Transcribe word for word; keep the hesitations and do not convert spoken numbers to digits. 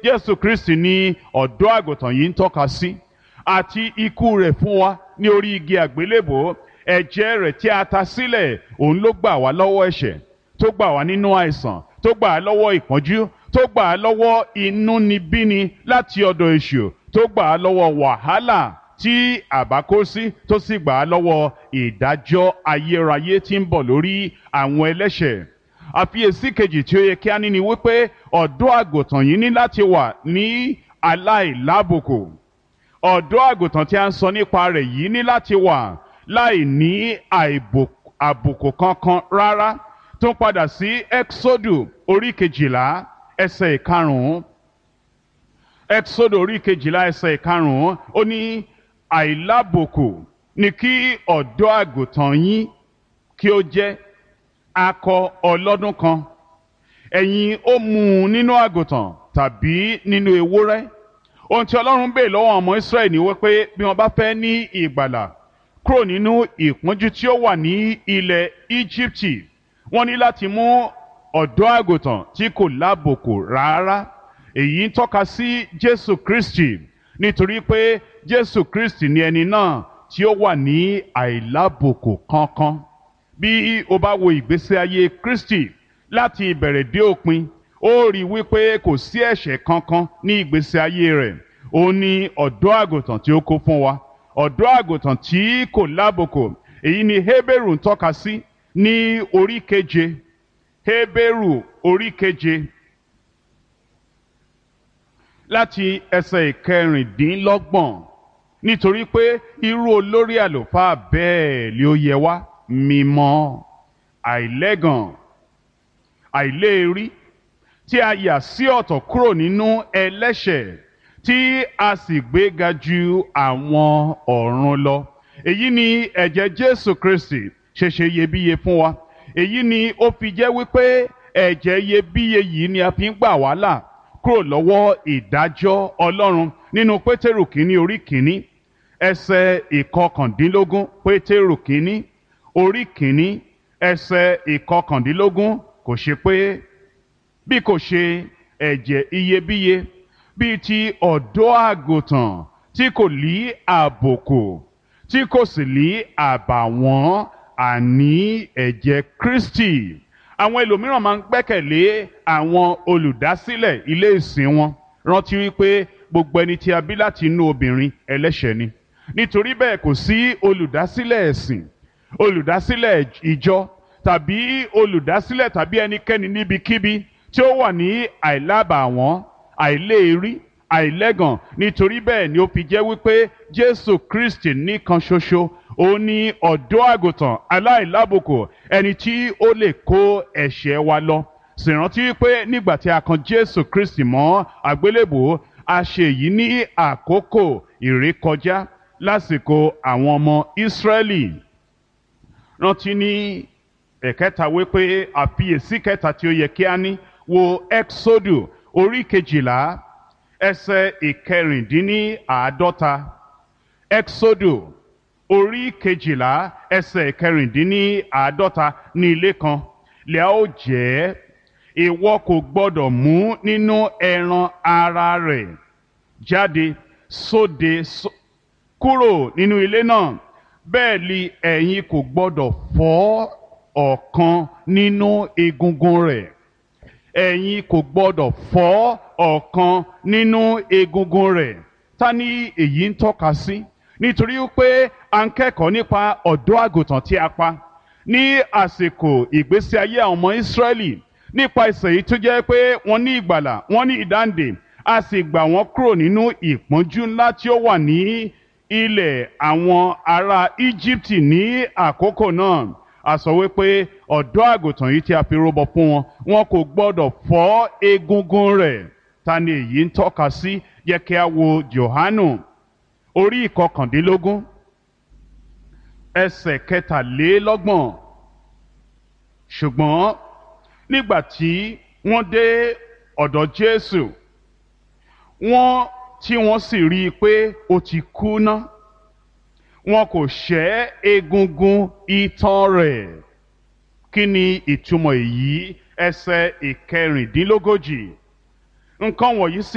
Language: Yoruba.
Jésù Kristi ni ọ̀dọ́ àgùntàn yìí ń tọ́ka sí, àti ikú rẹ̀ fún wa ní orí igi àgbélébòó. Ẹ̀jẹ̀ rẹ̀ tí a ta sílẹ̀, òun ló gbà wá lọ́wọ́ ẹ̀ṣẹ̀, tó gbà wá nínú àìsàn, tó gbà á lọ́wọ́ ìpọ́njú, tó gbà á lọ́wọ́ inúnibíni láti ọ̀dọ̀ èṣù, tó gbà á lọ́wọ́ wàhálà tí àbá kó sí, tó sì gbà á lọ́wọ́ ìdájọ́ ayérayé tí ń bọ̀ lórí àwọn ẹlẹ́ṣẹ̀. Àfiyèsí kejì tí ó yẹ kí a ní ni wípé ọ̀dọ́ àgùntàn yìí ní láti wà ní aláìlábùkù. Ọ̀dọ́ àgùntàn tí a ń sọ nípa rẹ̀ yìí ní láti wà láì ní àbùkù kankan rárá. Tó ń padà sí Ẹ́xódù orí kejìlá ẹsẹ̀ ìkarùn-ún. Ẹ́xódù orí kejìlá ẹsẹ̀ ìkarùn-ún, ó ní àìlábùkù ni kí ọ̀dọ́ àgùntàn yín kí ó jẹ́ akọ ọlọ́dún kan. Ẹ̀yin ó mú un nínú àgùntàn tàbí nínú ewúrẹ́. Ohun tí Ọlọ́run bèè lọ́wọ́ ọmọ Ísírẹ́lì ni wípé bí wọ́n bá fẹ́ ní ìgbàlà kúrò nínú ìpọ́njú tí ó wà ní ilẹ̀ Íjíbítì, wọ́n ní láti mú ọ̀dọ́ àgùntàn tí kò lábùkù rárá. Èyí ń tọ́ka sí Jésù Kristi, nítorí pé Jésù Kristi ni ẹni náà tí ó wà ní àìlábùkù kankan. Bí o bá wo ìgbésí ayé Kristi láti ìbẹ̀rẹ̀ dé òpin, ó rí wípé kò sí ẹ̀ṣẹ̀ kankan ní ìgbésí ayé rẹ̀. Ó ní ọ̀dọ́ àgùntàn tí ó kó fún wa, ọ̀dọ́ àgùntàn tí kò lábùkù. Èyí ni Hébérù ń tọ́ka sí ní orí keje. Hébérù orí keje láti ẹsẹ̀ ìkẹrìndínlọ́gbọ̀n. Nítorí pé irú olórí àlùfáà bẹ́ẹ̀ ni ó yẹ wá, mímọ́, àìlẹ́gàn, àìléèrí, tí a yà sí ọ̀tọ̀ kúrò nínú ẹlẹ́ṣẹ̀, tí a sì gbéga ju àwọn ọ̀run lọ. Èyí ni ẹ̀jẹ̀ Jésù Kristi ṣe ṣe iyebíye fún wa. Èyí ni ó fi jẹ́ wípé ẹ̀jẹ̀ iyebíye yìí ni a fi ń gbà wá là kúrò lọ́wọ́ ìdájọ́ Ọlọ́run. Nínú Pétérù kínní orí kínní ẹsẹ̀ ìkọkàndínlógún. Pétérù kínní orí kínní ẹsẹ̀ ìkọkàndínlógún, kò ṣe pé bí kò ṣe ẹ̀jẹ̀ iyebíye bíi ti ọ̀dọ́ àgùntàn tí kò lí àbùkù tí kò sì lí àbàwọ́n, àní ẹ̀jẹ̀ Kristi. Àwọn ẹlòmíràn máa ń gbẹ́kẹ̀lé àwọn olùdásílẹ̀ ilé ìsìn wọn. Rántí wípé gbogbo ẹni tí a bí láti inú obìnrin ẹlẹ́ṣẹ̀ ni. Nítorí bẹ́ẹ̀ kò sí olùdásílẹ̀ ẹ̀sìn, olùdásílẹ̀ ìjọ tàbí olùdásílẹ̀ tàbí ẹnikẹ́ni níbikíbi tí ó wà ní àìlábàwọ́n, àìléèrí, àìlẹ́gàn. Nítorí bẹ́ẹ̀ ni ó fi jẹ́ wípé Jésù Kristi nìkan ṣoṣo, ó ní ọ̀dọ́ àgùntàn aláìlábùkù, ẹni tí ó lè kó ẹ̀ṣẹ̀ wa lọ. Sì rántí wípé nígbà tí a kan Jésù Kristi mọ́ àgbélébùú, a ṣe èyí ní àkókò ìrékọjá lásìkò àwọn ọmọ Ísírẹ́lì. Rántí ní ẹ̀kẹta wípé àfiyèsí kẹta tí ó yẹ kí a ní, wo Ẹ́xódù orí kejìlá ẹsẹ̀ ìkẹrìndínláàádọ́ta. Ẹ́xódù orí kejìlá ẹsẹ̀ ìkẹrìndínláàádọ́ta. Ní ilé kan lẹ́à ó jẹ́, ìwọ kò gbọ́dọ̀ mú nínú ẹran ara rẹ̀ jáde sóde kúrò nínú ilé náà, bẹ́ẹ̀ li ẹ̀yin kò gbọ́dọ̀ fọ́ ọ̀kan nínú egungun rẹ̀. Ẹ̀yin kò gbọ́dọ̀ fọ́ ọ̀kan nínú egungun rẹ̀. Ta ni èyí ń tọ́ka sí? Nítorí pé a ń kẹ́kọ̀ọ́ nípa ọ̀dọ́ àgùntàn tí a pa ní àsìkò ìgbésí ayé àwọn ọmọ Ísírẹ́lì, nípa ìsẹ̀ yìí tó jẹ́ pé wọ́n ní ìgbàlà, wọ́n ní ìdáǹdè, a sì gbà wọ́n kúrò nínú ìpọ́njú ńlá tí ó wà ní ilẹ̀ àwọn ará Íjíbítì ní àkókò náà. A sọ wípé ọ̀dọ́ àgùntàn yìí tí a fi rúbọ fún wọn, wọn kò gbọ́dọ̀ fọ́ egungun rẹ̀. Ta ni èyí ń tọ́ka sí? Yẹ kí a wo Jòhánù orí ìkọkàndínlógún ẹsẹ̀ kẹtàlélọ́gbọ̀n. Ṣùgbọ́n nígbà tí wọ́n dé ọ̀dọ̀ Jésù, wọ́n tí wọ́n sì rí i pé ó ti kú ná, wọn kò ṣẹ́ egungun itan rẹ̀. Kí ni ìtumọ̀ èyí? Ẹsẹ̀ ìkẹrìndínlógójì. Nǹkan wọ̀nyí sì